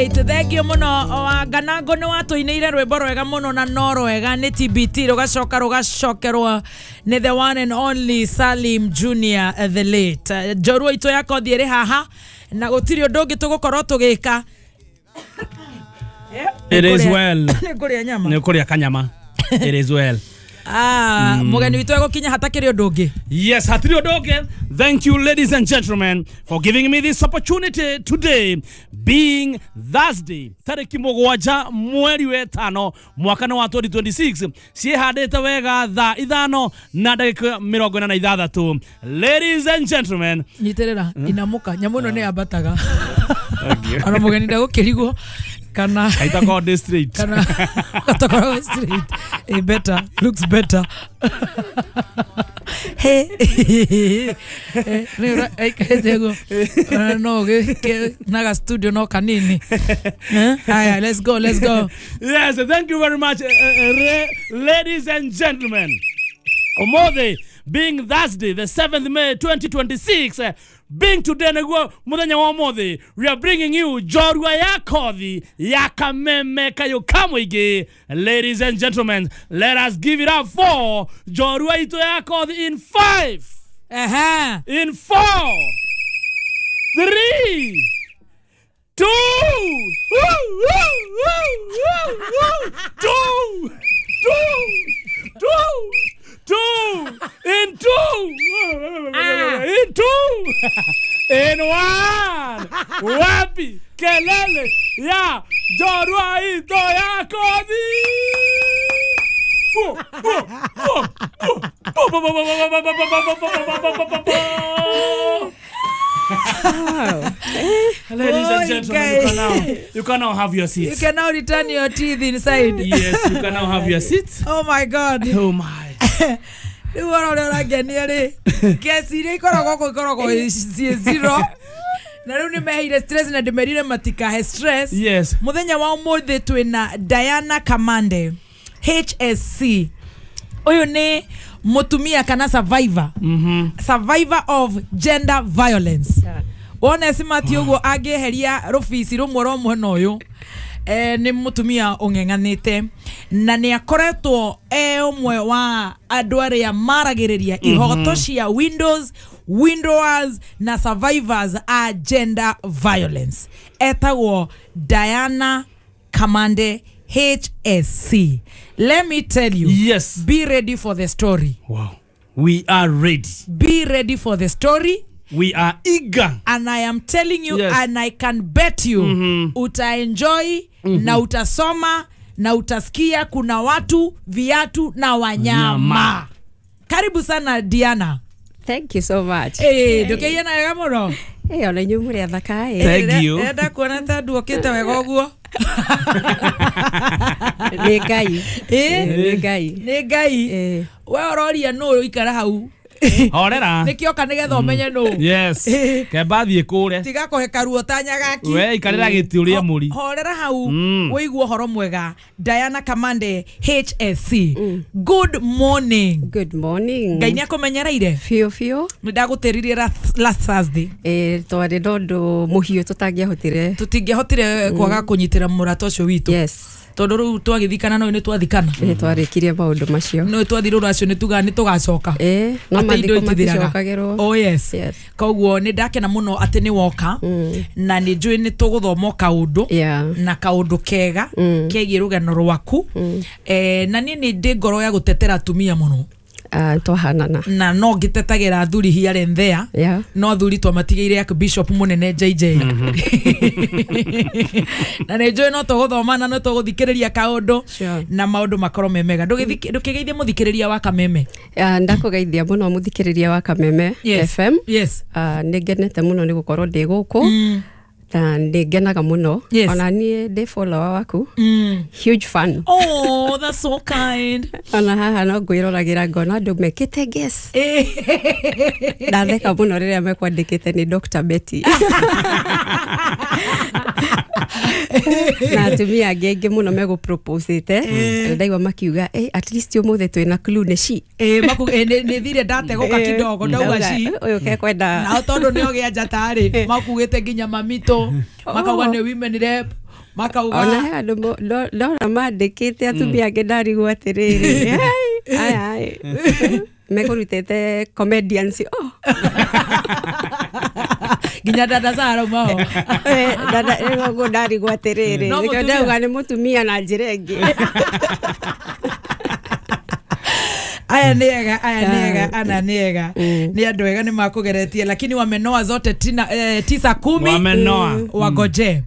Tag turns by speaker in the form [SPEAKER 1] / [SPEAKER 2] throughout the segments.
[SPEAKER 1] Right, thank you muno Wanganango nĩ watũinĩire rwĩmbo rwega mũno na no rwega nĩ TBT rũgacoka rũgacokerwo nĩ the one and only Salim Junior, the late njorua itũ ya kothi ĩrĩ haha na gũtirĩ ũndũ ũngĩ tũgũkorwo tũgĩka.
[SPEAKER 2] It is well.
[SPEAKER 1] Nĩ kũrĩa nyama.
[SPEAKER 2] Nĩ kũrĩa kanyama. It is well.
[SPEAKER 1] Ah, mũgeni witũ egũkinya hatakĩrĩ ũndũ ũngĩ.
[SPEAKER 2] Yes, hatirĩ ũndũ ũngĩ. Thank you, ladies and gentlemen, for giving me this opportunity today, being Thursday, tarĩki 7 mweri wa 5 mwaka wa 2026, ciĩhandĩte wega thaa 5:46. Ladies and gentlemen,
[SPEAKER 1] nyitĩrĩra inamuka nyamũ ĩno nĩ yambataga ona mũgeni ndagũkĩrigwo kana
[SPEAKER 2] kaitakorwo ndĩ straight.
[SPEAKER 1] Kana gatakoragwo straight. Eh, better looks better. He nĩ aikarĩte guo ona no naga studio no kanini. Eh, haya, let's go, let's go.
[SPEAKER 2] Yes, thank you very much, ladies and gentlemen. Omothe being Thursday, the 7th May 2026, being today niguo muthenya wa omothe, we are bringing you njorua ya kothi ya Kameme Kayo Kamũingĩ. Ladies and gentlemen, let us give it up for njorua itũ ya kothi in 5,
[SPEAKER 1] Ehe.
[SPEAKER 2] in 4, 3, 2, woo, woo, woo, woo, woo, 2, 2, 2, 2, in 2, in 2, in 1. Wapi kelele ya njorua itũ ya kothi? Bo, bo, bo, bo, bo, bo, bo, bo, bo, bo, bo, bo, bo, bo, bo, bo, bo. Ladies
[SPEAKER 1] Oh,
[SPEAKER 2] and gentlemen, you can now, you can now have your
[SPEAKER 1] You
[SPEAKER 2] seats.
[SPEAKER 1] can now return your teeth inside.
[SPEAKER 2] Yes, you can now have your seats.
[SPEAKER 1] Oh my God.
[SPEAKER 2] Oh my.
[SPEAKER 1] Rĩu wona ũrĩa ũrangenia rĩ, kesi iria ikoragwo kũ ikoragwo ciĩ zero na rĩu nĩ meheire stress na ndĩmerire matikahe stress.
[SPEAKER 2] Yes.
[SPEAKER 1] Mũthenya wa ũmũthĩ twĩna Diana Kamande HSC. Ũyũ nĩ mũtumia kana survivor, survivor of gender violence. Wona simati ũguo angĩeheria rũbici rũmwe rwa mwena ũyũ, nĩ mũtumia ũng'eng'anĩte na nĩ akoretwo e ũmwe wa andũ arĩa maragĩrĩria ihoto cia windows windowers na survivors a gender violence. Etagwo Diana Kamande HSC. Let me tell you,
[SPEAKER 2] Yes.
[SPEAKER 1] be ready for the story.
[SPEAKER 2] Wow. We are ready.
[SPEAKER 1] Be ready for the story.
[SPEAKER 2] We are eager.
[SPEAKER 1] And I am telling you,
[SPEAKER 2] Yes.
[SPEAKER 1] and I can bet you, utaenjoy na utasoma na utasikia kuna watu, viatu na wanyama.
[SPEAKER 2] Nyama.
[SPEAKER 1] Karibu sana, Diana.
[SPEAKER 3] Thank you so much.
[SPEAKER 1] Eh, ndũkĩiyana wega mũno.
[SPEAKER 3] Eh, ona inyuĩ mũrĩ athaka ĩ.
[SPEAKER 2] Thank you.
[SPEAKER 1] Ndĩrenda kuona ta nduokĩte wega ũguo.
[SPEAKER 3] Nĩ Ngai.
[SPEAKER 1] Eh,
[SPEAKER 3] Nĩ Ngai.
[SPEAKER 1] Nĩ Ngai.
[SPEAKER 3] Eh.
[SPEAKER 1] We ũroria nũ ũikara hau.
[SPEAKER 2] Horera.
[SPEAKER 1] Nĩkĩoka nĩgetha ũmenye nũ.
[SPEAKER 2] Yes.
[SPEAKER 1] Eh.
[SPEAKER 2] Kemba thiĩ kũre.
[SPEAKER 1] Tiga kũhe karuo ta nyagaki.
[SPEAKER 2] We ikarĩra gĩtĩ ũrĩe mũri.
[SPEAKER 1] Horera hau wĩigue ũhoro mwega. Diana Kamande HSC, good morning.
[SPEAKER 3] Good morning.
[SPEAKER 1] Ngai nĩ akũmenyereire.
[SPEAKER 3] Biũ biũ.
[SPEAKER 1] Nĩ ndagũtĩririe last Thursday.
[SPEAKER 3] Eh, twarĩ na ũndũ mũhiũ tũtangĩahotire.
[SPEAKER 1] Tũtingĩahotire kwaga kũnyitĩra mũrata ũcio witũ.
[SPEAKER 3] Yes.
[SPEAKER 1] Tondũ rĩu twagĩthikana no nĩ twathikana.
[SPEAKER 3] Nĩ twarĩkirie maũndũ macio.
[SPEAKER 1] No twathi rũracio nĩ tugaga nĩ tũgacoka.
[SPEAKER 3] Eh, no
[SPEAKER 1] Atĩ indo
[SPEAKER 3] mathiko
[SPEAKER 1] itithiraga.
[SPEAKER 3] maticokagĩrwo.
[SPEAKER 1] Oh yes.
[SPEAKER 3] Yes.
[SPEAKER 1] Koguo nĩ ndakena mũno atĩ nĩ woka na nĩ njũĩ nĩ tũgũthoma o kaũndũ na kaũndũ kega kegiĩ rũgano rwaku. Na niĩ nĩ ndĩ ngoro ya gũtetera atumia mũno.
[SPEAKER 3] Ah, twahanana.
[SPEAKER 1] Na no ngĩtetagĩra athuri here and there. No athuri twamatigĩire Archbishop mũnene JJ na nĩ njũĩ no tũgũthoma na no tũgũthikĩrĩria kaũndũ na maũndũ makorwo me mega. Ndũkĩgeithie mũthikĩrĩria wa Kameme.
[SPEAKER 3] Ah, ndakũgeithia mũno mũthikĩrĩria wa Kameme FM.
[SPEAKER 1] Yes.
[SPEAKER 3] Ah, nĩ ngenete mũno nĩ gũkorwo ndĩ gũkũ na nĩ ngenaga mũno. Ona niĩ ndĩ follower waku. Huge fan.
[SPEAKER 1] Oh, that's so kind.
[SPEAKER 3] Ona haha no ngwĩroragĩra ngona andũ mekĩte guess. Ndatheka mũno rĩrĩa mekwandĩkĩte nĩ Dr. Betty. Na atumia angĩ aingĩ mũno megũproposĩte. Ndaigua makiuga, at least ũmũthĩ twĩna clue nĩ she.
[SPEAKER 1] Nĩ thire ndategũka kidogo ndauga she.
[SPEAKER 3] Ũyũ kekwenda.
[SPEAKER 1] Nao tondũ nĩ ogĩa njata rĩ, makugĩte nginya mamitũ, makauga nĩ women rep. Makauga
[SPEAKER 3] Ona he andũ ndona mandĩkĩte atumia angĩ ndarigwo atĩrĩrĩ. Ai ai. Mekũrutĩte comedians. Oh.
[SPEAKER 1] Nginya dada Sara mao.
[SPEAKER 3] Dada rĩu ndarigwo atĩrĩrĩ. Nĩkĩo ndauga nĩ mũtumia na njĩra ĩngĩ.
[SPEAKER 1] Aya nĩega, aya nĩega, ana nĩega. Nĩ andũ ega nĩ makũgeretie lakini wamenoa zote 9 10
[SPEAKER 2] wamenoa
[SPEAKER 1] wagoje.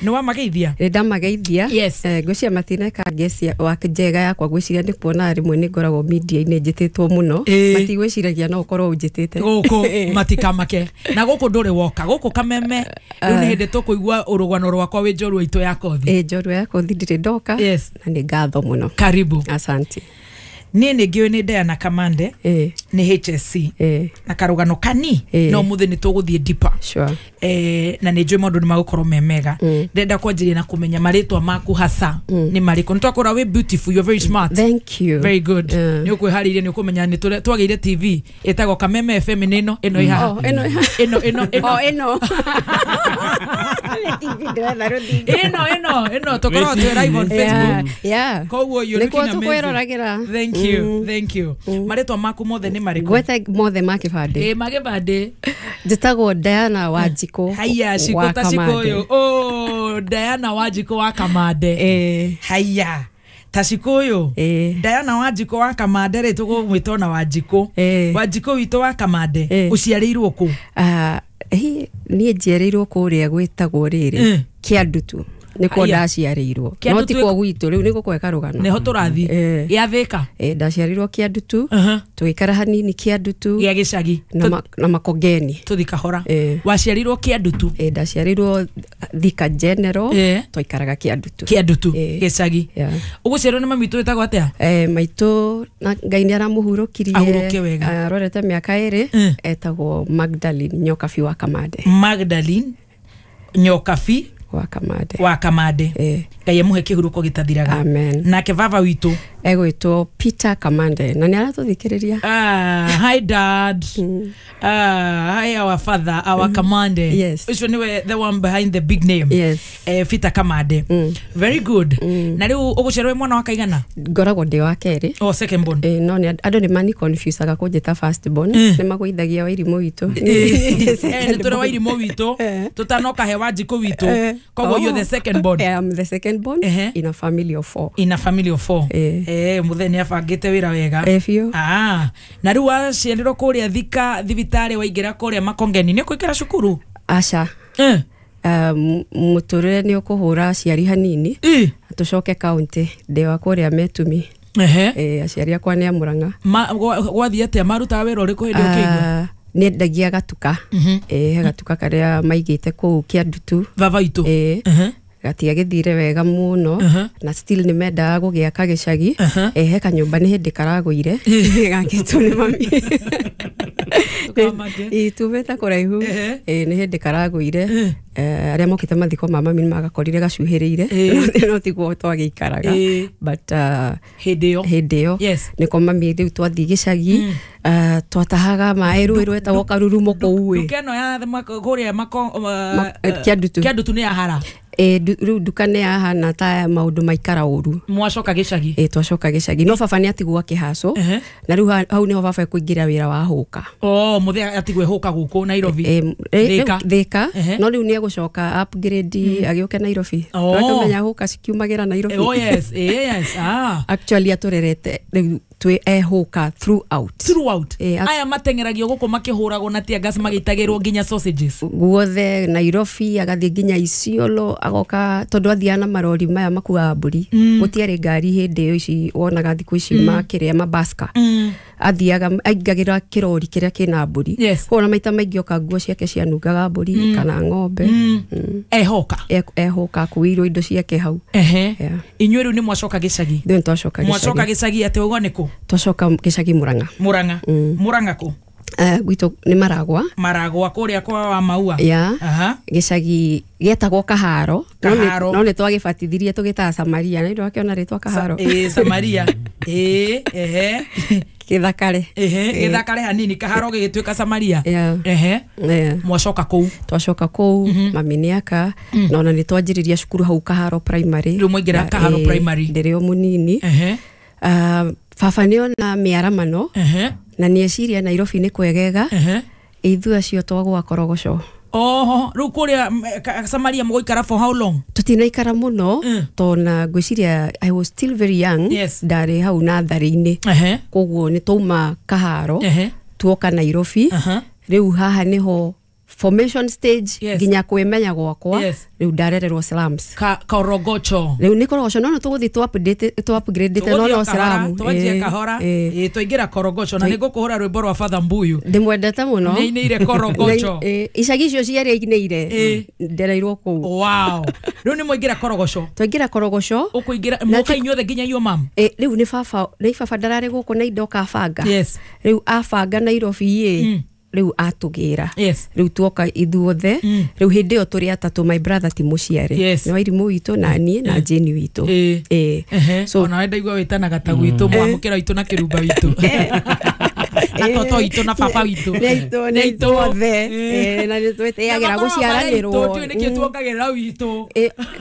[SPEAKER 1] Nĩ wamageithia?
[SPEAKER 3] Nĩ ndamageithia.
[SPEAKER 1] Yes.
[SPEAKER 3] Ngwĩciria matineka ngecia wa njega yakwa ngwĩciria nĩ kuona rĩmwe nĩ ngoragwo media-inĩ njĩtĩtwo mũno. Matigwĩciragia no ũkorwo ũnjĩtĩte.
[SPEAKER 1] Gũkũ matikamake. Na gũkũ ndũrĩ woka. Gũkũ Kameme rĩu nĩ hĩndĩ tũkũigua ũrũgano rwakwa wĩ njorua itũ ya kothi.
[SPEAKER 3] Njorua ya kothi ndirĩ ndoka.
[SPEAKER 1] Yes.
[SPEAKER 3] Na nĩ ngatho mũno.
[SPEAKER 1] Karibu.
[SPEAKER 3] Asante.
[SPEAKER 1] Niĩ nĩ ngĩũĩ nĩ Diana Kamande nĩ HSC na karũgano kani no mũthĩ nĩ tũgũthiĩ deeper.
[SPEAKER 3] Sure.
[SPEAKER 1] Na nĩ njũĩ maũndũ nĩ magũkorwo me mega. Ndĩrenda kwanjĩrĩria na kũmenya marĩtwa maku hasa nĩ marĩkũ. Nĩ twakora wĩ beautiful, you're very smart.
[SPEAKER 3] Thank you.
[SPEAKER 1] Very good. Nĩ ũkwĩharĩirie nĩ ũkũmenya nĩ twagĩire TV ĩtagwo Kameme FM nĩ ĩno ĩno ĩ haha.
[SPEAKER 3] Oh, ĩno
[SPEAKER 1] ĩno ĩno ĩno.
[SPEAKER 3] Oh, ĩno. Nĩ TV ndĩretha rũthingo.
[SPEAKER 1] Ĩno ĩno ĩno tũkoragwo twĩ live on Facebook.
[SPEAKER 3] Yeah.
[SPEAKER 1] Koguo you're looking amazing.
[SPEAKER 3] Nĩkuo tũkwĩroragĩra.
[SPEAKER 1] Thank you. Thank you. Marĩtwa maku mothe nĩ marĩkũ?
[SPEAKER 3] Gwetha mothe ma kĩbandĩ.
[SPEAKER 1] Ma kĩbandĩ.
[SPEAKER 3] Njĩtagwo Diana Wanjikũ.
[SPEAKER 1] Haiya, Shiko ta Shiko ũyũ. Oh, Diana Wanjikũ wa Kamande. Haiya. Ta Shiko ũyũ. Diana Wanjikũ wa Kamande rĩ tũgũmwĩta ona Wanjikũ. Wanjikũ witũ wa Kamande. Ũciarĩirwo kũ?
[SPEAKER 3] Niĩ njiarĩirwo kũrĩa gwĩtagwo rĩrĩ Kĩandutu. Nĩkuo ndaciarĩirwo. No ti kuo gwitũ rĩu nĩgũkwe karũgano.
[SPEAKER 1] Nĩho tũrathiĩ. Gĩa Thĩka.
[SPEAKER 3] Ndaciarĩirwo Kĩandutu. Tũgĩikara hanini Kĩandutu.
[SPEAKER 1] Gĩa gĩcagi.
[SPEAKER 3] Na Makongeni.
[SPEAKER 1] Tũthi kahora. Waciarĩirwo Kĩandutu.
[SPEAKER 3] Ndaciarĩirwo Thika General. Twaikaraga Kĩandutu.
[SPEAKER 1] Kĩandutu gĩcagi. Ũgũciarwo nĩ mami witũ wĩtagwo atĩa?
[SPEAKER 3] Maitũ na Ngai nĩ aramũhurũkirie.
[SPEAKER 1] Ahurũke wega.
[SPEAKER 3] Arorete mĩaka 2. Etagwo Magdalene Nyokabi wa Kamande.
[SPEAKER 1] Magdalene Nyokabi
[SPEAKER 3] wa Kamande.
[SPEAKER 1] Wa Kamande. Ngai amũhe kĩhurũko gĩtathiraga.
[SPEAKER 3] Amen.
[SPEAKER 1] Nake baba witũ
[SPEAKER 3] egwĩtwo Peter Kamande na nĩ aratũthikĩrĩria.
[SPEAKER 1] Hi dad. Hi our father, our Kamande.
[SPEAKER 3] Yes.
[SPEAKER 1] Ũcio nĩwe the one behind the big name.
[SPEAKER 3] Yes.
[SPEAKER 1] Peter Kamande. Very good. Na rĩu ũgũciarwo wĩ mwana wa kaigana?
[SPEAKER 3] Ngoragwo ndĩ wa kerĩ.
[SPEAKER 1] Oh, second born.
[SPEAKER 3] No nĩ andũ nĩ mani confusaga kũnjĩta first born. Nĩ magũithagia Wairimũ witũ.
[SPEAKER 1] Nĩ tũrĩ Wairimũ witũ. Tũtanoka he Wanjikũ witũ. Koguo you're the second born.
[SPEAKER 3] I am the second born in a family of 4.
[SPEAKER 1] In a family of 4. Mũthee nĩ abangĩte wĩra wega.
[SPEAKER 3] Biũ.
[SPEAKER 1] Na rĩu waciarirwo kũrĩa Thika thibitarĩ waingĩra kũrĩa Makongeni nĩ ũkũingĩra cukuru?
[SPEAKER 3] Aca. Mũtũrĩre nĩ ũkũhũra aciari hanini. Tũcoke kaunti ndĩ wa kũrĩa Metumi. Aciari akwa nĩ a Mũrang'a.
[SPEAKER 1] Gwathiĩ atĩa? Marutaga wĩra ũrĩkũ hĩndĩ ũkĩigua?
[SPEAKER 3] Nĩ endagia gatuka. He gatuka karĩa maigĩte kũu Kĩandutu.
[SPEAKER 1] Baba witũ.
[SPEAKER 3] Gatiagĩthire wega mũno na still nĩ mendaga gũgĩaka gĩcagi. He kanyũmba nĩ hĩndĩ karagũire gakĩtwo nĩ mami. Tumĩte kũraihu. Nĩ hĩndĩ karagũire. Arĩa mokĩte mathiko ma mami nĩ magakorire gacuhĩrĩire no tiguo twagĩikaraga. But
[SPEAKER 1] hĩndĩ
[SPEAKER 3] ĩyo nĩko mami rĩu twathiĩ gĩcagi twatahaga maĩ rũĩ rwetagwo Karurumo kũu.
[SPEAKER 1] Nduka ĩno ya kũrĩa
[SPEAKER 3] Kĩandutu.
[SPEAKER 1] Kĩandutu nĩ ya hara.
[SPEAKER 3] Rĩu nduka nĩ yahana ta maũndũ maikara ũru.
[SPEAKER 1] Mwacoka gĩcagi?
[SPEAKER 3] Twacoka gĩcagi no baba nĩ atigwo akĩhacwo na rĩu hau nĩho baba ekũingĩra wĩra wa hũka.
[SPEAKER 1] Oh, mũthee atigwo hũka gũkũ Nairobi.
[SPEAKER 3] Thĩka. No rĩu nĩ egũcoka upgrade agĩũke Nairobi. Twakamenya hũka cikiumagĩra Nairobi.
[SPEAKER 1] Oh yes, yes.
[SPEAKER 3] Actually atũrerete rĩu twĩ ehũka throughout.
[SPEAKER 1] Throughout. Aya mateng'eragio gũkũ makĩhũragwo na tear gas magĩitagĩrwo nginya sausages.
[SPEAKER 3] Guothe Nairobi agathiĩ nginya Isiolo agoka tondũ athiaga na marori maya makuaga mbũri. Gũtiarĩ ngari hĩndĩ ĩyo ici wonaga thikũ ici makĩrĩa mabaska. Athiaga aingagĩra kĩrori kĩrĩa kĩna mbũri. Koguo na maita maingĩ oka nguo ciake cianungaga mbũri kana ng'ombe.
[SPEAKER 1] Ehoka.
[SPEAKER 3] Ehoka akuĩirwo indo ciake hau.
[SPEAKER 1] Inyuĩ rĩu nĩ mwacoka gĩcagi?
[SPEAKER 3] Ithuĩ nĩ twacoka gĩcagi.
[SPEAKER 1] Mwacoka gĩcagi atĩ ũguo nĩ kũ?
[SPEAKER 3] Twacoka gĩcagi Mũrang'a.
[SPEAKER 1] Mũrang'a. Mũrang'a kũ?
[SPEAKER 3] Gwitũ nĩ Maragwa.
[SPEAKER 1] Maragwa kũrĩa kwa wa Maua.
[SPEAKER 3] Ya.
[SPEAKER 1] Aha.
[SPEAKER 3] Gĩcagi gĩetagwo Kaharo.
[SPEAKER 1] Kaharo.
[SPEAKER 3] No nĩ twagĩbatithirie tũgĩtaga Samaria, na nĩ wakĩona rĩtwa Kaharo.
[SPEAKER 1] Ĩĩ, Samaria. Ĩĩ, ehe.
[SPEAKER 3] Gĩthakare.
[SPEAKER 1] Ehe, gĩthakare hanini Kaharo gĩgĩtuĩka Samaria.
[SPEAKER 3] Yeah.
[SPEAKER 1] Ehe.
[SPEAKER 3] Yeah.
[SPEAKER 1] Mwacoka kũu.
[SPEAKER 3] Twacoka kũu, mami nĩ aka, na ona nĩ twanjĩrĩria cukuru hau Kaharo Primary.
[SPEAKER 1] Rĩu mwaingĩra Kaharo Primary.
[SPEAKER 3] Ndĩrĩ o mũnini.
[SPEAKER 1] Ehe.
[SPEAKER 3] Baba nĩ ona mĩaramano
[SPEAKER 1] Ehe.
[SPEAKER 3] na nĩ eciria Nairobi nĩ kwegega.
[SPEAKER 1] Ehe.
[SPEAKER 3] Ithuĩ acio twagwa Korogoco.
[SPEAKER 1] Oho, rĩu kũrĩa Samaria mũgũikara for how long?
[SPEAKER 3] Tũtinaikara mũno, tona ngwĩciria I was still very young.
[SPEAKER 1] Yes.
[SPEAKER 3] Ndarĩ hau natharĩ-inĩ.
[SPEAKER 1] Ehe.
[SPEAKER 3] Koguo nĩ twauma Kaharo.
[SPEAKER 1] Ehe.
[SPEAKER 3] Tuoka Nairobi.
[SPEAKER 1] Aha.
[SPEAKER 3] Rĩu haha nĩho formation stage.
[SPEAKER 1] Yes.
[SPEAKER 3] Nginya kwĩmenya gwakwa.
[SPEAKER 1] Yes.
[SPEAKER 3] Rĩu ndarererwo slums.
[SPEAKER 1] Korogocho.
[SPEAKER 3] Rĩu nĩ Korogoco, no tũgũthiĩ tũ upgrade no no slum.
[SPEAKER 1] Twanjie kahora. Ĩĩ, twaingĩra Korogocho na nĩ ngũkũhũra rwĩmbo rwa Father Mbuyu.
[SPEAKER 3] Ndĩmwendete mũno.
[SPEAKER 1] Nĩainĩire Korogocho.
[SPEAKER 3] Icagi icio cierĩ ainĩire. Ndereirwo kũu.
[SPEAKER 1] Wow. Rĩu nĩ mwaingĩra Korogoco.
[SPEAKER 3] Twaingĩra Korogoco.
[SPEAKER 1] Ũkũingĩra mũka inyuothe nginya iyo mam.
[SPEAKER 3] Rĩu nĩ baba, nĩ baba ndararĩ gũkũ na indo abanga.
[SPEAKER 1] Yes.
[SPEAKER 3] Rĩu abanga Nairobi ĩ, rĩu atũgĩra.
[SPEAKER 1] Yes.
[SPEAKER 3] Rĩu tuoka ithuothe. Rĩu hĩndĩ ĩyo tũrĩ atatũ, my brother ti mũciare.
[SPEAKER 1] Yes.
[SPEAKER 3] Nĩ Wairimũ witũ na niĩ na Jane witũ.
[SPEAKER 1] Ĩĩ.
[SPEAKER 3] Ĩĩ.
[SPEAKER 1] So ona we ndaigua wĩtanaga ta gwitũ, mwamũkĩra witũ na kĩrumba witũ na toto witũ na baba witũ.
[SPEAKER 3] Nĩ aitũ, nĩ aitũ othe. Na nĩ twĩtĩagĩra gũciaranĩrwo.
[SPEAKER 1] Ndiũĩ nĩkĩ tuongagĩrĩra witũ.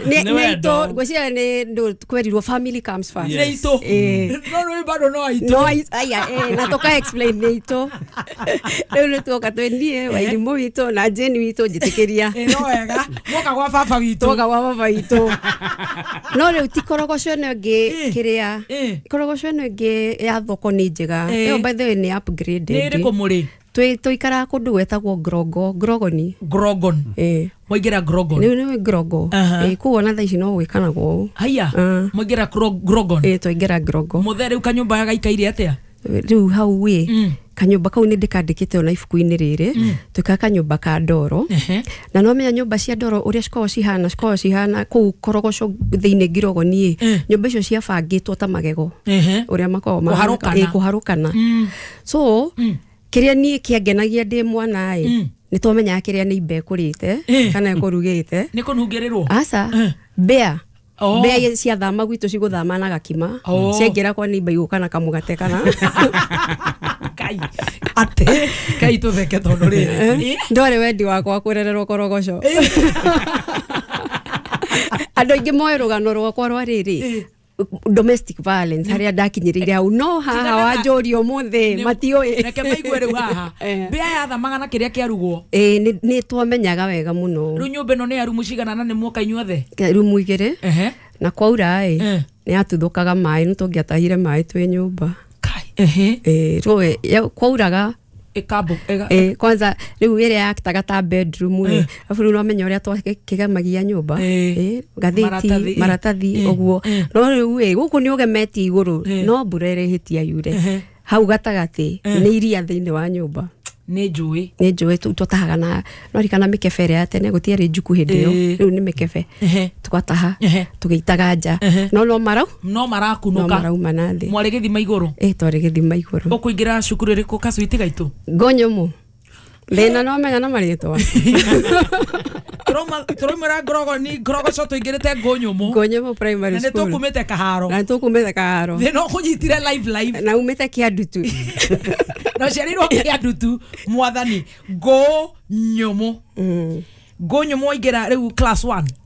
[SPEAKER 3] Nĩ
[SPEAKER 2] Nĩ wendo.
[SPEAKER 3] aitũ, ngwĩciria nĩ kwerirwo family comes first.
[SPEAKER 1] Nĩ aitũ. No rĩu bado no aitũ.
[SPEAKER 3] No aya, na tũka explain nĩ aitũ. Rĩu nĩ tuoka twĩ niĩ, Wairimũ witũ na Jane witũ, njĩtĩkĩria.
[SPEAKER 1] Ĩĩ, no wega mwoka gwa baba witũ.
[SPEAKER 3] Tuoka gwa baba witũ. No rĩu ti Korogoco ĩno ĩngĩ, kĩrĩa Korogoco ĩno ĩngĩ ya thoko nĩ njega. Ĩyo by the way nĩ upgraded.
[SPEAKER 1] Nĩ ĩrĩkũ mũrĩ?
[SPEAKER 3] Tũikaraga kũndũ gwetagwo Grogo, Grogoni.
[SPEAKER 1] Grogon. Mwaingĩra Grogon.
[SPEAKER 3] Rĩu nĩ Grogo. Kũu ona thaa ici no gwĩkanagwo ũũ.
[SPEAKER 1] Haya, mwaingĩra Grogon.
[SPEAKER 3] Ĩĩ, twaingĩra Grogo.
[SPEAKER 1] Mũthe rĩu kanyũmba gaikaire atĩa?
[SPEAKER 3] Rĩu hau ĩ, kanyũmba kau nĩ ndĩkandĩkĩte ona ibuku-inĩ rĩrĩ, twĩkaga kanyũmba ka ndoro. Na no menya nyũmba cia ndoro ũrĩa cikoragwo cihana, cikoragwo cihana kũu Korogoco thĩinĩ Ngirogoni ĩ, nyũmba icio ciabangĩtwo ta magego. Ũrĩa makoragwo
[SPEAKER 1] Kũharũkana.
[SPEAKER 3] Kũharũkana. So kĩrĩa niĩ kĩangenagia ndĩ mwana ĩ, nĩ twamenyaga kĩrĩa nĩ imba ĩkũrĩte kana ĩkũrugĩte.
[SPEAKER 1] Nĩ kũnungĩrĩrwo?
[SPEAKER 3] Aca, mbĩa.
[SPEAKER 1] Oh.
[SPEAKER 3] Mbĩa ciathama gwitũ cigũthama na gakima.
[SPEAKER 1] Oh.
[SPEAKER 3] Ciaingĩra kwa nĩimba igũka na kamũgate kana.
[SPEAKER 1] Kai ate kai tũtheke tondũ rĩrĩ.
[SPEAKER 3] Ndwarĩ wendi wakwa kũrererwo Korogoco. Andũ aingĩ moĩ rũgano rwakwa rwa rĩrĩ domestic violence harĩa ndakinyĩrĩire hau, no haha wanjũria ũmũthĩ matiũĩ.
[SPEAKER 1] Reke maigue rĩu haha. Mbĩa yathamaga na kĩrĩa kĩarugwo.
[SPEAKER 3] Ĩĩ, nĩ twamenyaga wega mũno.
[SPEAKER 1] Rĩu nyũmba ĩno nĩ ya rumu cigana na nĩ muoka inyuothe?
[SPEAKER 3] Rumu igĩrĩ. Na kwaura ĩ, nĩ yatuthũkaga maĩ, nĩ tũngĩatahire maĩ twĩ nyũmba.
[SPEAKER 1] Kai. Ehe.
[SPEAKER 3] Rĩu kwauraga
[SPEAKER 1] ĩkambo
[SPEAKER 3] kwanza rĩu ĩrĩa yaktaga ta bedroom ĩ, arabu rĩu nomenya ũrĩa twakĩgemagia nyũmba, ngathĩti, maratathi ũguo. No rĩu ĩ, gũkũ nĩ ũgemetie igũrũ, no mbura ĩrĩhĩtia yure hau gatagatĩ nĩ iria thĩinĩ wa nyũmba.
[SPEAKER 1] Nĩ njũĩ.
[SPEAKER 3] Nĩ njũĩ twatahaga na no ririkana mĩkebe ĩrĩa ya tene, gũtiarĩ njuku hĩndĩ ĩyo, rĩu nĩ mĩkebe tũgataha tũgĩitaga nja, no no marau
[SPEAKER 1] no marakunũka,
[SPEAKER 3] no marauma na thĩ.
[SPEAKER 1] Mwarĩ gĩthima igũrũ?
[SPEAKER 3] Twarĩ gĩthima igũrũ.
[SPEAKER 1] Ũkũingĩra cukuru ĩrĩkũ kacwiti gaitũ?
[SPEAKER 3] Ngonyũmũ. Thĩna no menya na marĩtwa.
[SPEAKER 1] Tũraumĩra Ngorogoni, Ngorogoco tũingĩrĩte Ngũnyũmũ.
[SPEAKER 3] Ngũnyũmũ primary school.
[SPEAKER 1] Na nĩ tũkumĩte Kaharo.
[SPEAKER 3] Na nĩ tũkumĩte Kaharo.
[SPEAKER 1] Thĩna ũkũnyitire live live.
[SPEAKER 3] Na umĩte Kĩandutu.
[SPEAKER 1] Na ũciarĩirwo Kĩandutu, mwathani. Ngũnyũmũ. Ngũnyũmũ waingĩra rĩu class 1.